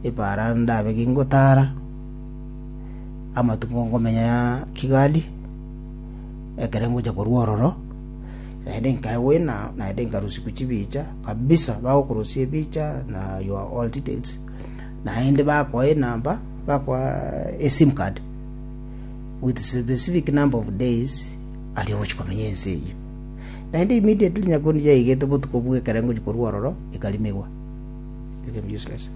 Epaara ndabe gingotara, amatuko nkomenya Kigali, ekere ngocha korwa ororo, naende nkaegwa ena, naende nkarusigwa chibicha kabisa, bagokorusia ebicha na your all details, naende bakoa enamba, bakoa esim card with specific number of days aria ogochi komenya ense eyio. Naende immediately nyakundi yaigete botuko bwa ekere ngochi korwa ororo, ekarimigwa. Became useless.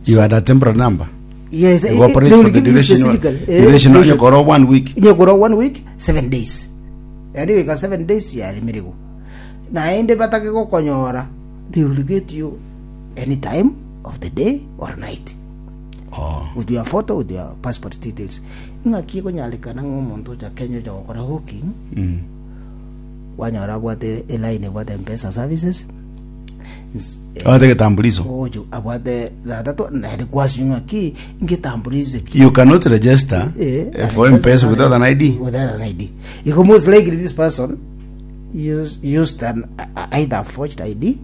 You had a temporary number. Yes, You eh, operate they will for the give you duration. specifically, eh, Duration duration. onyekora one week. Nyekora one week, 7 days. Yaani goika 7 days yarimirigwa. Naende batake gokonyora, they will get you any time of the day or night. Oh. With your photo, with your passport details. Ng'aki ekonyarekana ng'a omonto ocha Kenya ocha gokora hawking, kwanyora abwate eline ebwate M-Pesa services, Abwate egetambuliso. Oyo abwate tata naende kwasinywa ng'aki ngetambuliso ki You cannot register Eh, eh, for M-Pesa without an ID. Without an ID. Iko most likely this person used an either forged ID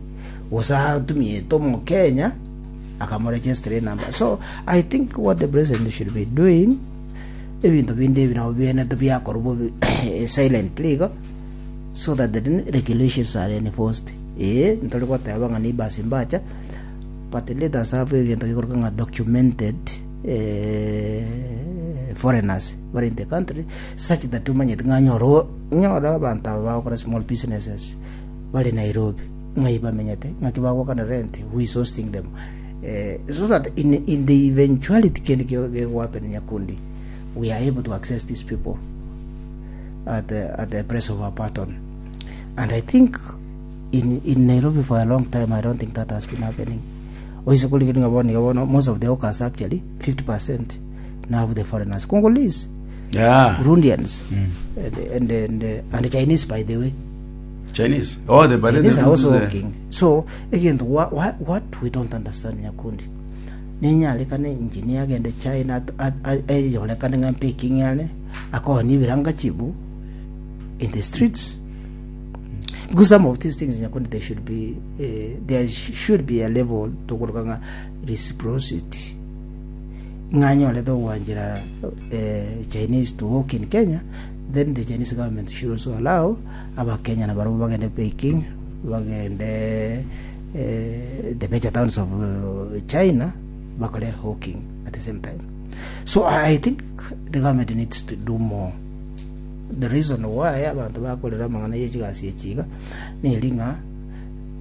gose atumiete omokenya akamoregistra number. So I think what the president should be doing ebinto binde ebi nabo bienete biakorwa bobe silently igo so that the regulations are enforced. Ee, ntori goteba ng'a neighbors mbacha, but let us have egento gekorokwa ng'a documented eh, foreigners bare in the country such that omanyete ng'a nyora nyora abanto aba bagokora small businesses bare Nairobi ng'ai bamenyete ng'aki bagokana rent who is hosting them eh, so that in the eventuality kende gegohappen nyakundi we are able to access these people at the press of a button and I think in Nairobi for a long time I don't think that has been happening oise korigereria ng'a bono iga bono most of the hawkers actually 50% now the foreigners Congolese Yeah. Burundians and Chinese by the way Chinese. Oh, the but Chinese are also hawking so egento what we don't understand nyakundi nenyarekane engineer agende China eyorekane ng'a Peking are akooni ebirangachibu in the streets because some of these things nyakundi there should be there should be a level tokoroka ng'a reciprocity ng'a anyorete ogwanchera Chinese to work in Kenya then the Chinese government should also allow abakenya nabarobwo bagende Peking bagende the major towns of China bakore hawking at the same time. So I think the government needs to do more. The reason why abanto bakorera amang'ana ye chigasi echi iga neri ng'a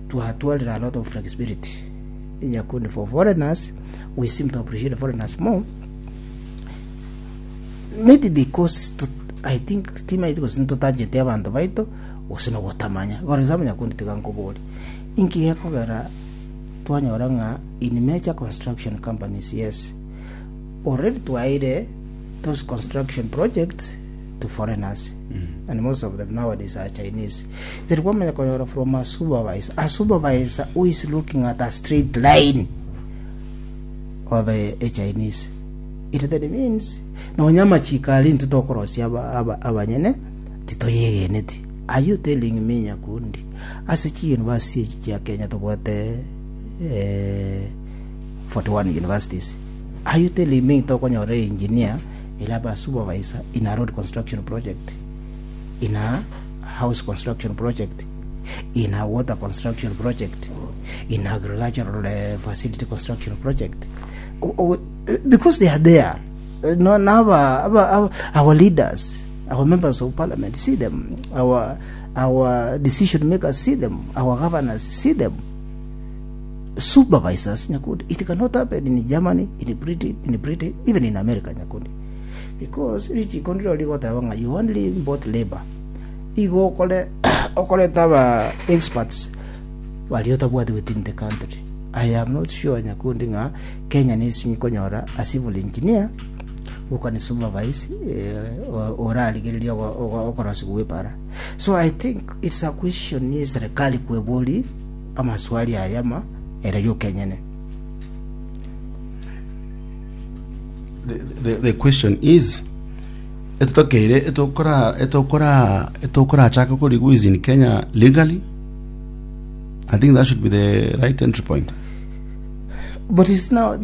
twatwarire a lot of flexibility nyakundi for foreigners we seem to appreciate foreigners more maybe because to, I think timaeti gose ntotancheti abanto baito gose nogotamanya. For example nyakundi tiga nkobori inki gekogera twanyora ng'a in major construction companies yes already twaeire those construction projects to foreigners and most of them nowadays are Chinese. Teri kwamanya konyora from a supervisor, a supervisor who is looking at a straight line of a Chinese. It then means nonya amachiko aria intwe tokorosia abanyene titoyegeneti. Are you telling me Nyakundi ase chi university echi chia Kenya tobwate eh, 41 universities are you telling me tokonyora engineer ere abe a supervisor in a road construction project in a house construction project in a water construction project in agricultural facility construction project because they are there no, now our leaders our members of parliament see them our decision makers see them our governors see them supervisors nyakundi it cannot happen in Germany in Britain even in America nyakundi because richiko ndiro rigoteba ng'a you only import labor igo okore okoreta aba experts baria otabwati within the country I am not sure nyakundi ng'a Kenya nesinyi konyora a civil engineer who can supervise eh, orarigereria okorosigwa gwe para so I think it's a question ye serikali kwebori amaswali aya ama ere yoka enyene. The question is etotokeire etokora etokora etokorachaka korigwa is in Kenya legally I think that should be the right entry point But it's now the